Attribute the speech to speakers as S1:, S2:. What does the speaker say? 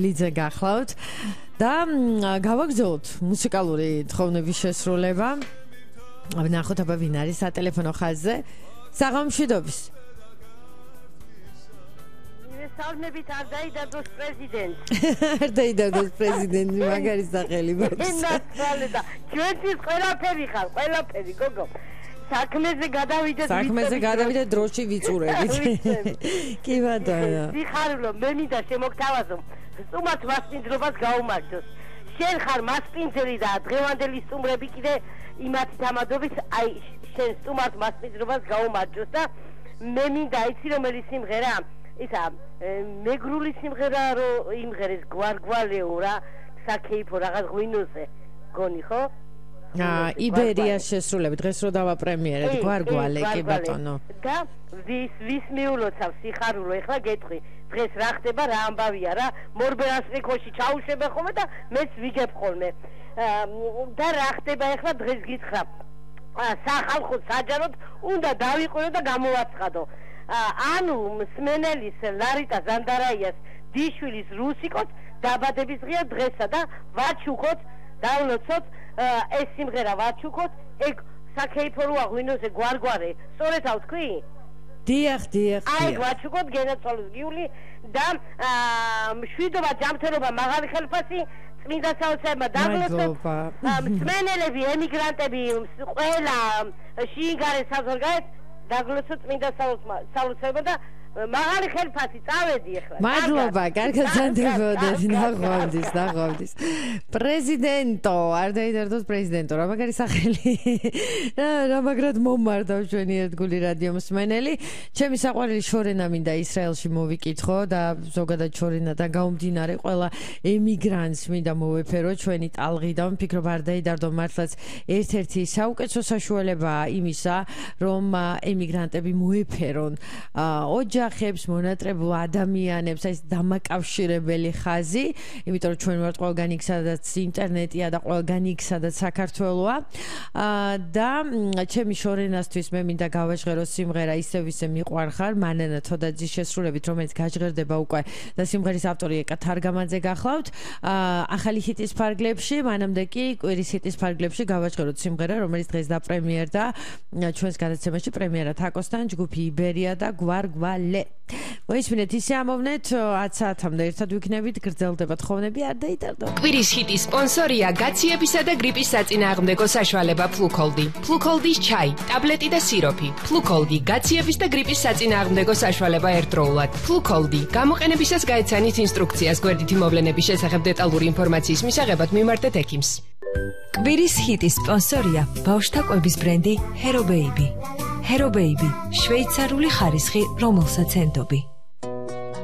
S1: ლიძე გახლავთ და გავაგზავნოთ მუსიკალური თხოვნების შესრულება. ვნახოთ აბა ვინ არის სატელეფონო ხაზზე. საღამოშვიდობის.
S2: Salmebit ar დაიდარდოს პრეზიდენტი.
S1: არ დაიდარდოს პრეზიდენტი, მაგარი სახელი მაქვს.
S2: ნაცვალება. ჩვენთვის ყველაფერი ხარ, ყველაფერი, გოგო. საქმეზე გადავიდეთ
S1: დროში ვიწურებით. კი ბატონო.
S2: სიხარულო, მე მინდა შემოგთავაზო. სტუმართ მასპინძლობას გაუმარჯოს. შენ ხარ მასპინძელი და დღევანდელი სტუმრები კიდე იმათი თამადობის, აი შენ სტუმართ მასპინძლობას გაუმარჯოს და მე მინდა იცი რომელი სიმღერა ისა მეგრული სიმღერა რო იმღერეს გვარგვალეო რა საკეიფო რაღაც ღვინოზე გონი ხო?
S1: იბერია შესრულები დღეს რო დავაპრემიერეთ გვარგვალე კი ბატონო.
S2: და ვის მიულოცავ სიხარულო ეხლა გეტყვი დღეს რა ხდება რა ამბავია რა მორბერას რიქოში ჩაუშვება ხოლმე და მეც ვიგებ ხოლმე და რა ხდება ეხლა დღეს გითხრა სახალხო საჯაროდ უნდა დავიყვირო და გამოვაცხადო. ანუ მსმენელის ლარიტა ზანდარაიას დიშვილის რუსიკოს დაბადების დღეა დღესა და ვაჩუქოთ დავლოცოთ ეს სიმღერა ვაჩუქოთ ეგ საკეიფო როა ღვინოზე გვარგვარე სწორედ ავთქვი?
S1: დიახ
S2: აი ვაჩუქოთ გენაცვალოს გიული და მშვიდობა ჯანმრთელობა მაღალი ხელფასი წმინდა საოცრებმა დაგლოცოთ მსმენელები ემიგრანტები ყველა შინგარე საზღვარგარეთ დაგლოცოთ წმინდა საოცრება და მაღალი ხელფასი წავედი ახლა.
S1: მადლობა, კარგად ზანდებოდეთ, ნაღვამდის. პრეზიდენტო, არ დაიდარდოს პრეზიდენტო, რა მაგარი სახელი. რა მაგრად მომმართავ ჩვენი ერთგული რადიო მსმენელი. ჩემი საყვარელი შორენა მინდა ისრაელში მოვიკითხო და ზოგადად შორენადან გამომდინარე ყველა ემიგრანტს მინდა მოვეფერო ჩვენი ტალღი და ვფიქრობ არ დაიდარდო მართლაც ერთ-ერთი საუკეთესო საშუალებაა იმისა, რომ ემიგრანტები მოეფერონ ოჯახებს, მონატრებულ ადამიანებს, ეს დამაკავშირებელი ხაზი, იმიტომ რომ ჩვენ ვართ ყველგან იქ სადაც ინტერნეტია და ყველგან იქ სადაც საქართველოა. და ჩემი შორენასთვის მე მინდა გავაჟღერო სიმღერა ისევ ისე მიყვარხარ, მანანა თოდაძის შესრულებით, რომელიც გაჟღერდება უკვე და სიმღერის ავტორი ეკა თარგამაძე გახლავთ. ახალი ჰიტის ფარგლებში, მანამდე კი კვირის ჰიტის ფარგლებში გავაჟღეროთ სიმღერა, რომელიც დღეს დაპრემიერდა ჩვენს გადაცემაში პრემიერად აკოსთან ჯგუფი იბერია და გვარგვალე. მოისმინეთ ისე ამოვნეთ 10 საათამდე ერთად ვიქნებით გრძელდება თხოვნები არ დაიდარდო.
S3: კვირის ჰიტის სპონსორია გაციებისა და გრიპის საწინააღმდეგო საშუალება ფლუქოლდი. ფლუქოლდის ჩაი, ტაბლეტი და სიროფი. ფლუქოლდი გაციების და გრიპის საწინააღმდეგო საშუალება ერთდროულად. ფლუქოლდი გამოყენებისას გაეცანით ინსტრუქციას გვერდითი მოვლენების შესახებ დეტალური ინფორმაციის მისაღებად მიმართეთ ექიმს.
S4: კვირის ჰიტის სპონსორია ბავშვთა კვების ბრენდი Hero Baby. Hero Baby, შვეიცარიული ხარისხი, რომელსაც ენდობი.